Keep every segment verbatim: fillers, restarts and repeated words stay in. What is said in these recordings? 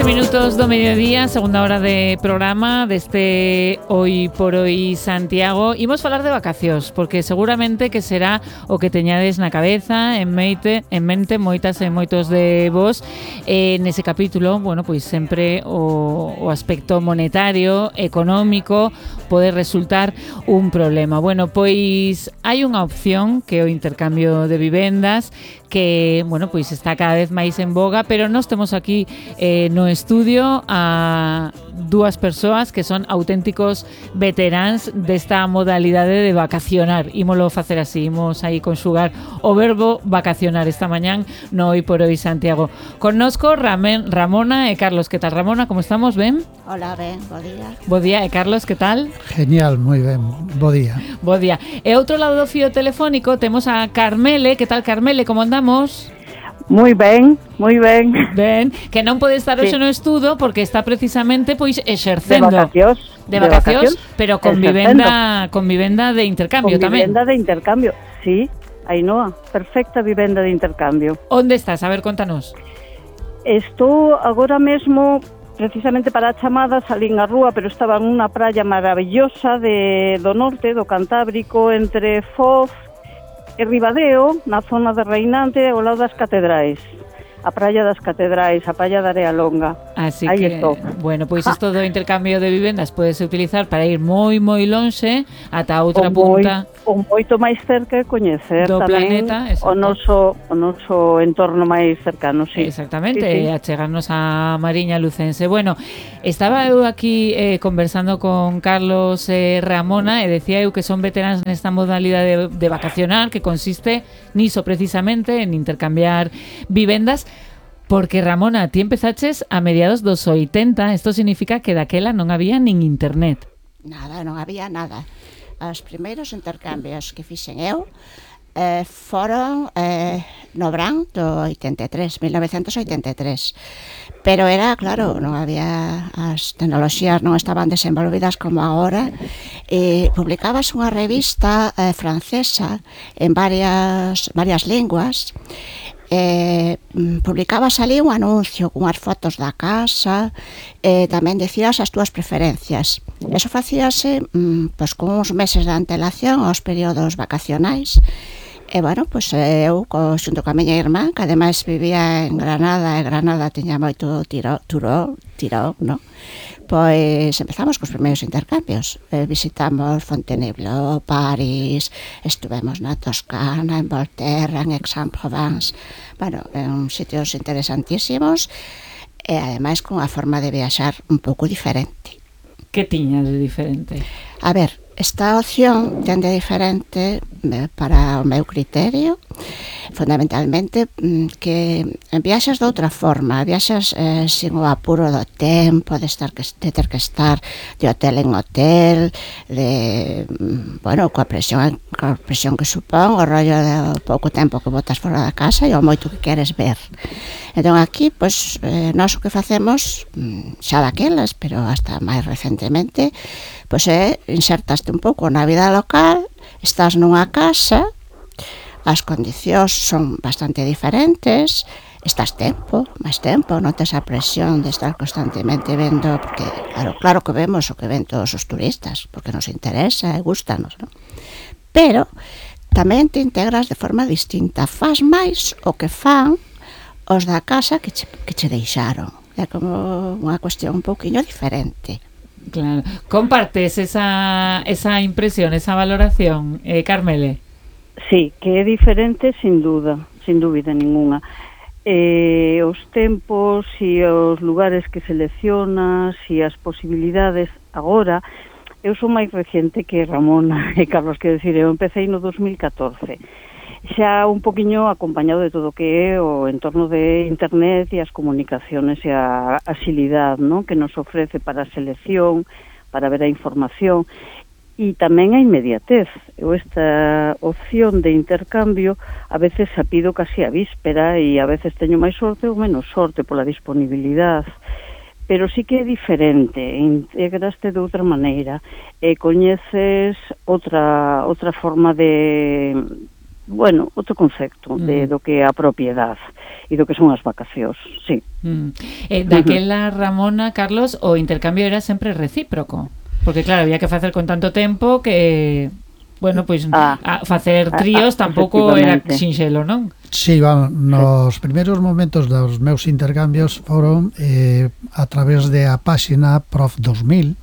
Minutos do mediodía, segunda hora de programa deste Hoy por Hoy Santiago. Imos falar de vacacións, porque seguramente que será o que teñades na cabeza, en mente, en mente moitas e moitos de vos. Eh, nese capítulo, bueno, pois sempre o, o aspecto monetario, económico, pode resultar un problema. Bueno, pois hai unha opción que é o intercambio de vivendas, que, bueno, pois está cada vez máis en boga, pero nós temos aquí eh, no estudio a dúas persoas que son auténticos veteráns desta modalidade de vacacionar. Ímolo facer así, imos aí conxugar o verbo vacacionar esta mañán no Hoy por Hoy Santiago. Connosco Ramen, Ramona e Carlos. Que tal, Ramona? Como estamos? Ben? Hola, ben, bo día. Bo día. E Carlos, que tal? Genial, moi ben, bo día. Bo día. E outro lado do fío telefónico temos a Carmele. Que tal, Carmele? Como andamos? Moi ben, moi ben. Ben, que non pode estar hoxe sí. no estudo porque está precisamente pois exercendo de vacacións, de vacacións, pero con vivenda, con vivenda de intercambio con tamén. Con vivenda de intercambio, sí, Ainhoa, perfecta vivenda de intercambio. Onde estás? A ver, contanos. Estou agora mesmo precisamente para a chamada, salín á rúa, pero estaba en unha praia maravillosa de do norte, do Cantábrico, entre Foz e Ribadeo, na zona de Reinante, ao lado das catedrais. A praia das catedrais, a praia da Area Longa. Así aí que, estou. Bueno, pois pues isto do intercambio de vivendas podese utilizar para ir moi, moi lonxe ata outra o punta. Moi, o moito máis cerca e coñecer do tamén planeta, o noso, o noso entorno máis cercano, sí. Exactamente, sí, sí. achegarnos a Mariña Lucense. Bueno, estaba eu aquí eh, conversando con Carlos e eh, Ramona e decía eu que son veteranos nesta modalidade de, de vacacionar, que consiste niso precisamente, en intercambiar vivendas. Porque, Ramona, ti empezaches a mediados dos oitenta, isto significa que daquela non había nin internet. Nada, non había nada. Os primeiros intercambios que fixen eu eh, foron eh, no verán do oitenta e tres, mil novecentos oitenta e tres. Pero era, claro, non había, as tecnoloxías non estaban desenvolvidas como agora, e publicabas unha revista eh, francesa en varias, varias linguas. Eh, publicabas ali un anuncio cunhas fotos da casa, e eh, tamén decías as túas preferencias. Eso facíase mm, pois, con uns meses de antelación aos períodos vacacionais. E, bueno, pois eu, co, xunto coa miña irmán, que ademais vivía en Granada, e Granada tiña moito tiro, turo, tirón, non? Pois empezamos cos primeiros intercambios. Eh, visitamos Fontainebleau, París, estuvemos na Toscana, en Volterra, en Aix-en-Provence. Bueno, en sitios interesantísimos e ademais con unha forma de viaxar un pouco diferente. Que tiñas de diferente? A ver, esta opción ten de diferente para o meu criterio, fundamentalmente que viaxas de outra forma, viaxas eh, sin o apuro do tempo, de, estar que, de ter que estar de hotel en hotel, de, bueno, coa presión, coa presión que supón, o rollo de pouco tempo que botas fora da casa e o moito que queres ver. Entón aquí, pois, eh, nós o que facemos, xa daquelas, pero hasta máis recentemente, pois é insertaste un pouco na vida local, estás nunha casa, as condicións son bastante diferentes, estás tempo, máis tempo, non tes a presión de estar constantemente vendo, porque claro, claro que vemos o que ven todos os turistas, porque nos interesa e gustanos, non? Pero tamén te integras de forma distinta, faz máis o que fan os da casa que che, que che deixaron. É como unha cuestión un pouquiño diferente. Claro. Compartes esa, esa impresión, esa valoración, eh, Carmele? Sí, que é diferente sin duda, sin dúbida ninguna. Eh, os tempos e os lugares que seleccionas e as posibilidades agora, eu sou máis reciente que Ramona e Carlos, quero dicir, eu empecé no dos mil catorce. Xa un poquinho acompañado de todo o que é o entorno de internet e as comunicaciones e a axilidade, ¿no?, que nos ofrece para a selección, para ver a información e tamén a inmediatez. Eu esta opción de intercambio a veces a pido casi a víspera e a veces teño máis sorte ou menos sorte pola disponibilidade. Pero sí que é diferente, integraste de outra maneira e coñeces outra outra forma de bueno, outro concepto mm. de do que é a propiedade e do que son as vacacións, sí. Mm. Eh, daquela, Ramona, Carlos, o intercambio era sempre recíproco, porque claro, había que facer con tanto tempo que, bueno, pois pues, ah, a facer tríos ah, ah, tampouco era sinxelo, non? Sí, vamos, nos sí. primeiros momentos dos meus intercambios foron eh, a través de a páxina Prof dos mil,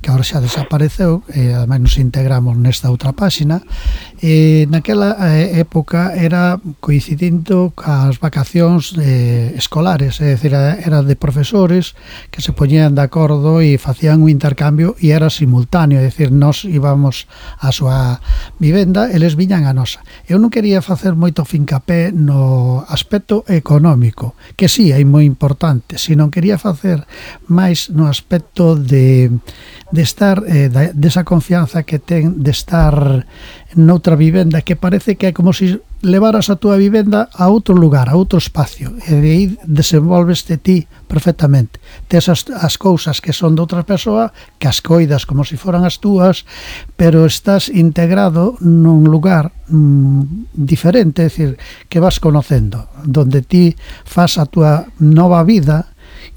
que agora xa desapareceu, e ademais nos integramos nesta outra páxina. E naquela época era coincidindo cas vacacións eh, escolares, é dicir, era de profesores que se poñían de acordo e facían un intercambio e era simultáneo, é dicir, nós íbamos á súa vivenda e eles viñan a nosa. Eu non quería facer moito fincapé no aspecto económico, que sí, é moi importante, sino quería facer máis no aspecto de de estar, eh, desa confianza que ten de estar noutra vivenda, que parece que é como se levaras a túa vivenda a outro lugar, a outro espacio, e de aí desenvolveste ti perfectamente. Tes as, as cousas que son de outra persoa, que as coidas como se foran as túas, pero estás integrado nun lugar mm, diferente, é dicir, que vas conocendo, donde ti fas a túa nova vida.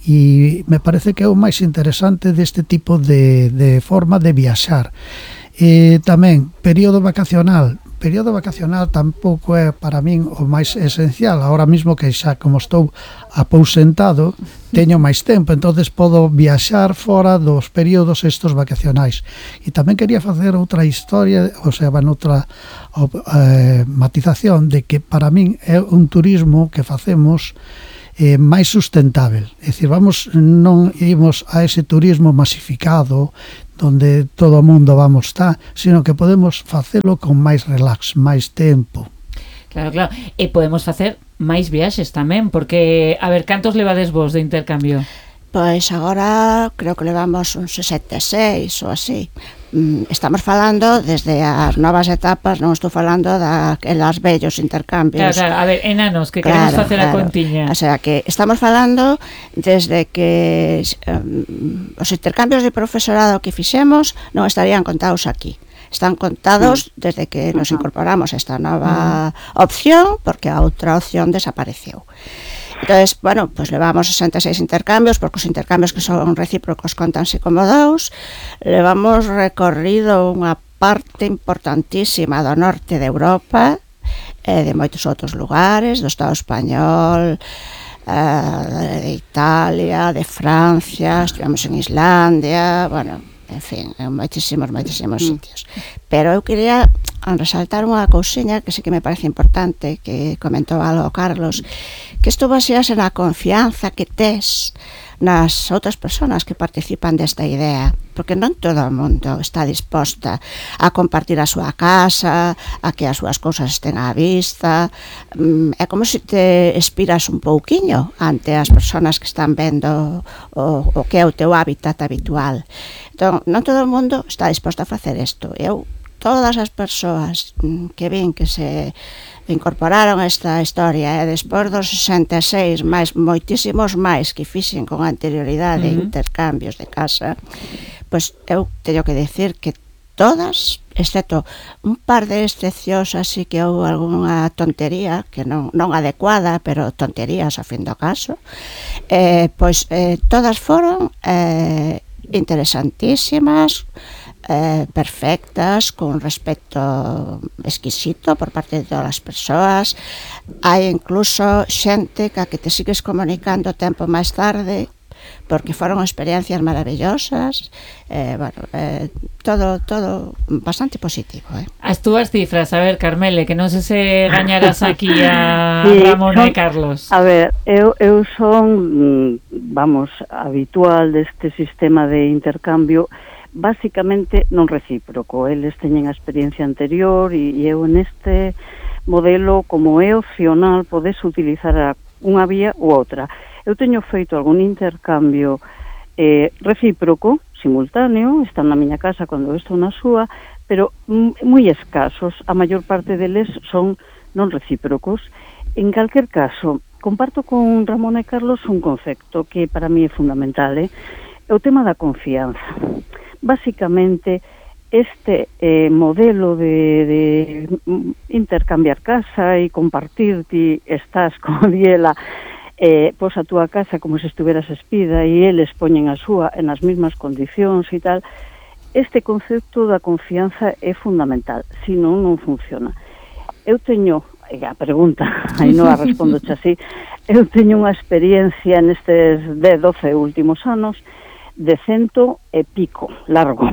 E me parece que é o máis interesante deste tipo de, de forma de viaxar. E tamén, período vacacional. Período vacacional tampouco é para min o máis esencial. Ahora mesmo que xa como estou apousentado, teño máis tempo, entonces podo viaxar fora dos períodos estos vacacionais. E tamén quería facer outra historia, ou sea, outra eh, matización de que para min é un turismo que facemos Eh, máis sustentável, é dicir, vamos, non imos a ese turismo masificado donde todo o mundo vamos estar, sino que podemos facelo con máis relax, máis tempo. Claro, claro, e podemos facer máis viaxes tamén, porque, a ver, cantos levades vos de intercambio? Pois agora creo que levamos uns sesenta e seis ou así. Estamos falando desde as novas etapas, non estou falando daquelas vellos intercambios. Claro, claro, a ver, enanos, que queremos claro, facer claro. a contiña. O sea, que estamos falando desde que um, os intercambios de profesorado que fixemos non estarían contados aquí. Están contados sí. desde que nos incorporamos a esta nova uh-huh. opción, porque a outra opción desapareceu. Entonces, bueno, pues levamos sesenta e seis intercambios, porque os intercambios que son recíprocos contanse como dous. Levamos recorrido unha parte importantísima do norte de Europa, e de moitos outros lugares, do Estado español, eh, de Italia, de Francia, estivemos en Islandia, bueno, en fin, en moitísimos, moitísimos mm. sitios. Pero eu quería resaltar unha cousiña que sí que me parece importante, que comentou algo Carlos, que isto basease na confianza que tes nas outras persoas que participan desta idea, porque non todo o mundo está disposta a compartir a súa casa, a que as súas cousas estén á vista. É como se te expiras un pouquiño ante as persoas que están vendo o, o que é o teu hábitat habitual. Entón, non todo o mundo está disposto a facer isto. Eu, todas as persoas que vin que se incorporaron esta historia e despois dos sesenta e seis máis moitísimos máis que fixen con anterioridade uh-huh. intercambios de casa, pois eu teño que decir que todas, excepto un par de excepcións así que houve algunha tontería que non, non adecuada, pero tonterías a fin do caso, eh, pois eh, todas foron eh, interesantísimas, Eh, perfectas, con respecto exquisito por parte de todas as persoas. Hai incluso xente ca que te sigues comunicando tempo máis tarde porque foron experiencias maravillosas. eh, bueno, eh, todo todo bastante positivo, eh. As túas cifras, a ver, Carmele, que non sei se gañarás aquí a sí, Ramona son, e Carlos. A ver, eu, eu son, vamos, habitual deste sistema de intercambio basicamente non recíproco. Eles teñen a experiencia anterior e, e eu neste modelo, como é opcional, podes utilizar a unha vía ou outra. Eu teño feito algún intercambio eh, recíproco, simultáneo, están na miña casa cando eu estou na súa, pero moi escasos. A maior parte deles son non recíprocos. En calquer caso, comparto con Ramón e Carlos un concepto que para mí é fundamental, eh? É o tema da confianza. Básicamente, este eh, modelo de, de intercambiar casa e compartir, ti estás, como diela, eh, pos a túa casa como se estuveras espida e eles poñen a súa en as mesmas condicións e tal. Este concepto da confianza é fundamental, senón non funciona. Eu teño, a pregunta, aí non a respondo así, eu teño unha experiencia nestes dez, doce últimos anos de cento e pico, largo,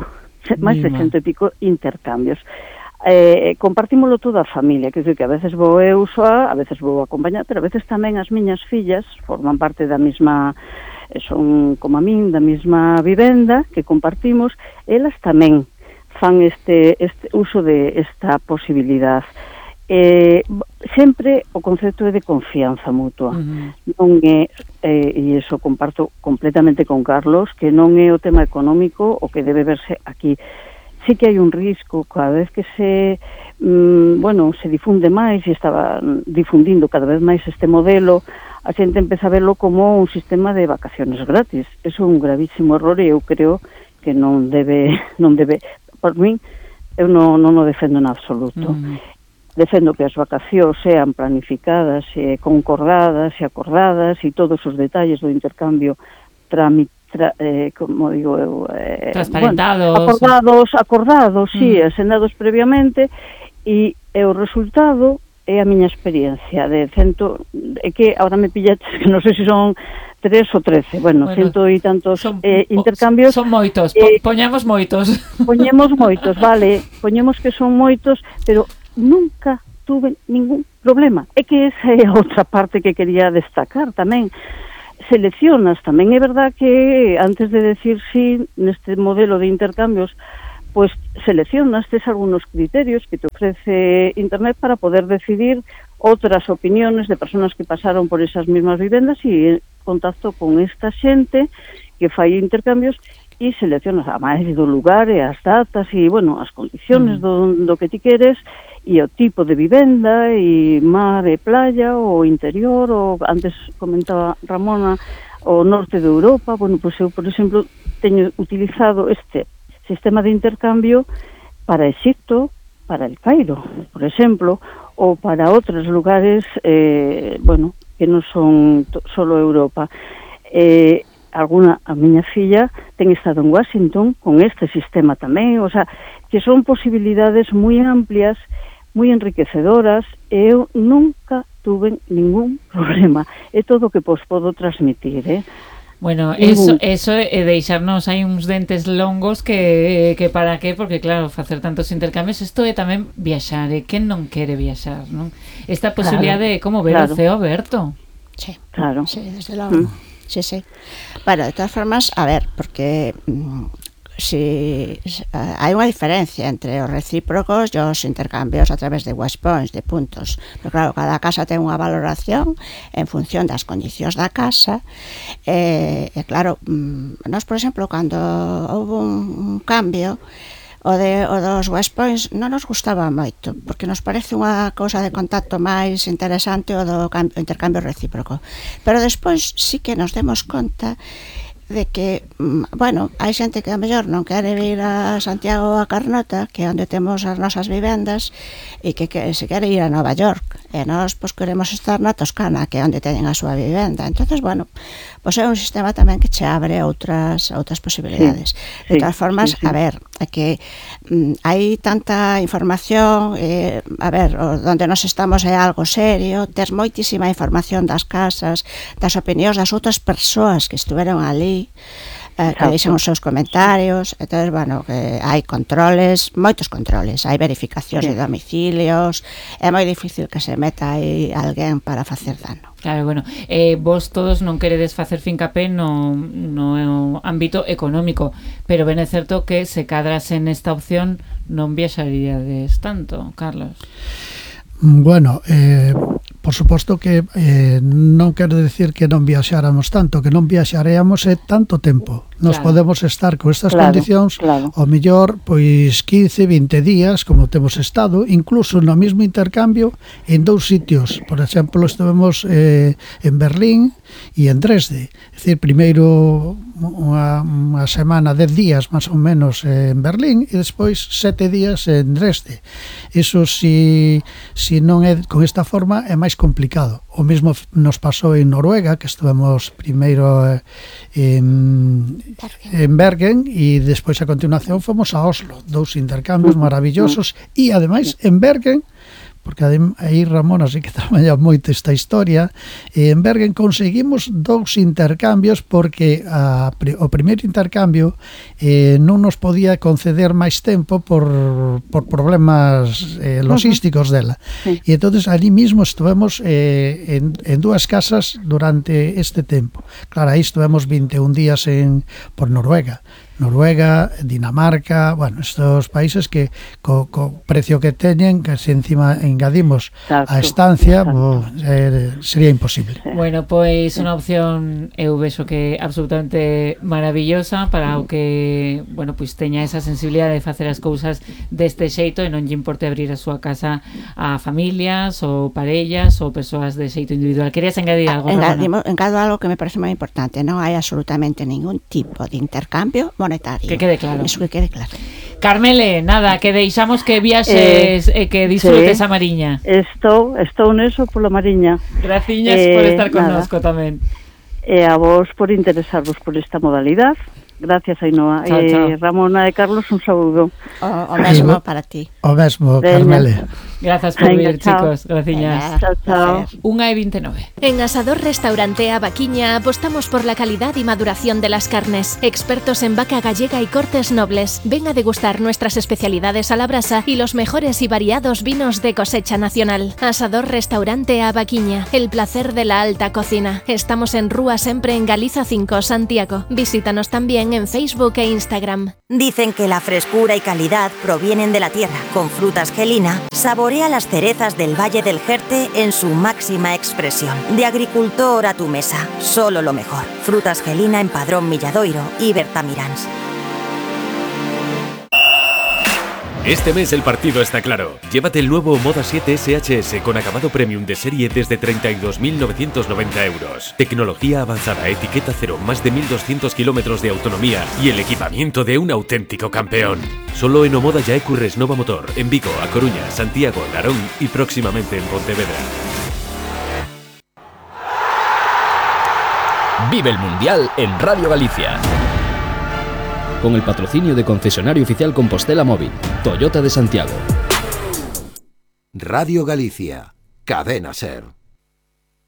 máis de cento e pico intercambios. Eh, compartímolo toda a familia, que dizer que a veces vou eu soa, a veces vou acompañar, pero a veces tamén as miñas fillas forman parte da mesma, son como a min, da mesma vivenda que compartimos, elas tamén fan este, este uso de esta posibilidad. Eh, sempre o concepto é de confianza mutua. Uh-huh. Non é, eh, e iso comparto completamente con Carlos, que non é o tema económico o que debe verse aquí. Sí que hai un risco, cada vez que se mm, bueno, se difunde máis e estaba difundindo cada vez máis este modelo, a xente empeza a verlo como un sistema de vacaciones gratis. Eso é un gravísimo error e eu creo que non debe, non debe, por min, eu non, non o defendo en absoluto. Uh-huh. Defendo que as vacacións sean planificadas, e concordadas e acordadas e todos os detalles do intercambio tramit, tra, eh, como digo eu, eh, transparentados, bueno, acordados, acordados, mm. sí, asendados previamente e, e o resultado é a miña experiencia de cento, é que agora me pillaches que non sei se son tres ou trece, bueno, bueno cento e tantos son, eh, intercambios. Son moitos, eh, poñamos moitos. Poñemos moitos, vale, poñemos que son moitos, pero nunca tuve ningún problema. É que esa é a outra parte que quería destacar tamén. Seleccionas, tamén é verdad que antes de decir sí neste modelo de intercambios, pues seleccionas, tes algunos criterios que te ofrece Internet para poder decidir outras opiniones de personas que pasaron por esas mismas vivendas e en contacto con esta xente que fai intercambios e seleccionas a máis do lugar e as datas e, bueno, as condiciones do, do que ti queres e o tipo de vivenda e mar e playa ou interior ou, antes comentaba Ramona, o norte de Europa. Bueno, pois eu, por exemplo, teño utilizado este sistema de intercambio para Egipto, para el Cairo, por exemplo, ou para outros lugares, eh, bueno, que non son solo Europa. Eh, alguna, a miña filla ten estado en Washington con este sistema tamén, o sea, que son posibilidades moi amplias, moi enriquecedoras, e eu nunca tuve ningún problema. É todo o que vos podo transmitir, eh? Bueno, eso, eso é deixarnos hai uns dentes longos que, que para qué, porque claro, facer tantos intercambios, isto é tamén viaxar, e quen non quere viaxar, non? Esta posibilidade claro, de como ver claro. o ceo aberto. Sí, claro. Sí, desde logo. Mm. Sí, sí. Bueno, de todas formas, a ver, porque mmm, si uh, hai unha diferencia entre os recíprocos e os intercambios a través de West Points, de puntos. Pero claro, cada casa ten unha valoración en función das condicións da casa. E, e claro, mmm, nós, por exemplo, cando houve un, un cambio, o, de, o dos West Points non nos gustaba moito, porque nos parece unha cousa de contacto máis interesante o do cambio, intercambio recíproco. Pero despois sí que nos demos conta de que, bueno, hai xente que a mellor non quere vir a Santiago ou a Carnota, que é onde temos as nosas vivendas, e que, que se quere ir a Nova York, e nós pois queremos estar na Toscana, que é onde teñen a súa vivenda. Entonces, bueno, pois é un sistema tamén que che abre outras outras posibilidades. Sí, de todas formas, sí, sí. a ver, é que mm, hai tanta información, eh, a ver, onde nos estamos é algo serio, tes moitísima información das casas, das opinións das outras persoas que estuveron ali, Eh, que deixan os seus comentarios. Entonces, bueno, que hai controles, moitos controles, hai verificacións sí. de domicilios, é moi difícil que se meta aí alguén para facer dano. Claro, bueno, eh, vos todos non queredes facer fincapé no, no ámbito económico, pero ben é certo que se cadrase nesta opción non viaxaríades tanto, Carlos. Bueno, eh, por suposto que eh, non quero decir que non viaxáramos tanto, que non viaxaríamos é tanto tempo Nos Claro. podemos estar con estas Claro, condicións claro. ao mellor pois quince, vinte días, como temos estado, incluso no mesmo intercambio en dous sitios. Por exemplo, estivemos eh, en Berlín e en Dresde. É dicir, primeiro unha, unha semana, dez días máis ou menos en Berlín e despois sete días en Dresde. Iso si, si non é con esta forma é máis complicado. O mesmo nos pasou en Noruega, que estivemos primeiro eh, en, en Bergen e despois a continuación fomos a Oslo, dous intercambios maravillosos e ademais en Bergen, porque aí Ramón así que traballa moito esta historia, e en Bergen conseguimos dous intercambios porque a, o primeiro intercambio eh, non nos podía conceder máis tempo por, por problemas eh, logísticos dela. Sí. E entonces ali mismo estivemos eh, en, en dúas casas durante este tempo. Claro, aí estivemos vinte e un días en, por Noruega. Noruega, Dinamarca, bueno, estos países que co, co precio que teñen, que se encima engadimos Exacto, a estancia, exacto. bo, eh, sería imposible. Bueno, pois unha opción eu vexo que absolutamente maravillosa para o que, bueno, pois teña esa sensibilidade de facer as cousas deste xeito e non lle importe abrir a súa casa a familias ou parellas ou persoas de xeito individual. Querías engadir algo, Ramona? Engadimo, engado algo que me parece moi importante. Non hai absolutamente ningún tipo de intercambio monetario. Que quede claro. Eso que quede claro. Carmele, nada, que deixamos que viaxes e eh, que disfrutes sí. a Mariña. Estou, estou neso pola Mariña. Graciñas Eh, por estar nada. connosco tamén. E a vos por interesarvos por esta modalidade. Gracias, Ainhoa. Chao, eh, chao. Ramona e Carlos, un saúdo. O, o mesmo para ti. O mesmo, Veña. Carmele. Grazas por Venga, vir, chao. chicos. Graciñas. Venga, Chao, chao. placer. Unha e vinte e nove. En Asador Restaurante Abaquiña apostamos por la calidad y maduración de las carnes. Expertos en vaca gallega y cortes nobles. Ven a degustar nuestras especialidades a la brasa y los mejores y variados vinos de cosecha nacional. Asador Restaurante Abaquiña, el placer de la alta cocina. Estamos en Rúa Sempre en Galiza cinco, Santiago. Visítanos también en Facebook e Instagram. Dicen que la frescura y calidad provienen de la tierra. Con Frutas Gelina, saborea las cerezas del Valle del Jerte en su máxima expresión. De agricultor a tu mesa, solo lo mejor. Frutas Gelina en Padrón Milladoiro y Bertamiráns. Este mes el partido está claro. Llévate el nuevo Moda siete S H S con acabado premium de serie desde treinta y dos mil novecientos noventa euros. Tecnología avanzada, etiqueta cero, más de mil doscientos kilómetros de autonomía y el equipamiento de un auténtico campeón. Solo en Omoda Yaecu Resnova Motor, en Vigo, A Coruña, Santiago, Narón y próximamente en Pontevedra. Vive el Mundial en Radio Galicia. Con el patrocinio de Concesionario Oficial Compostela Móvil, Toyota de Santiago. Radio Galicia, Cadena Ser.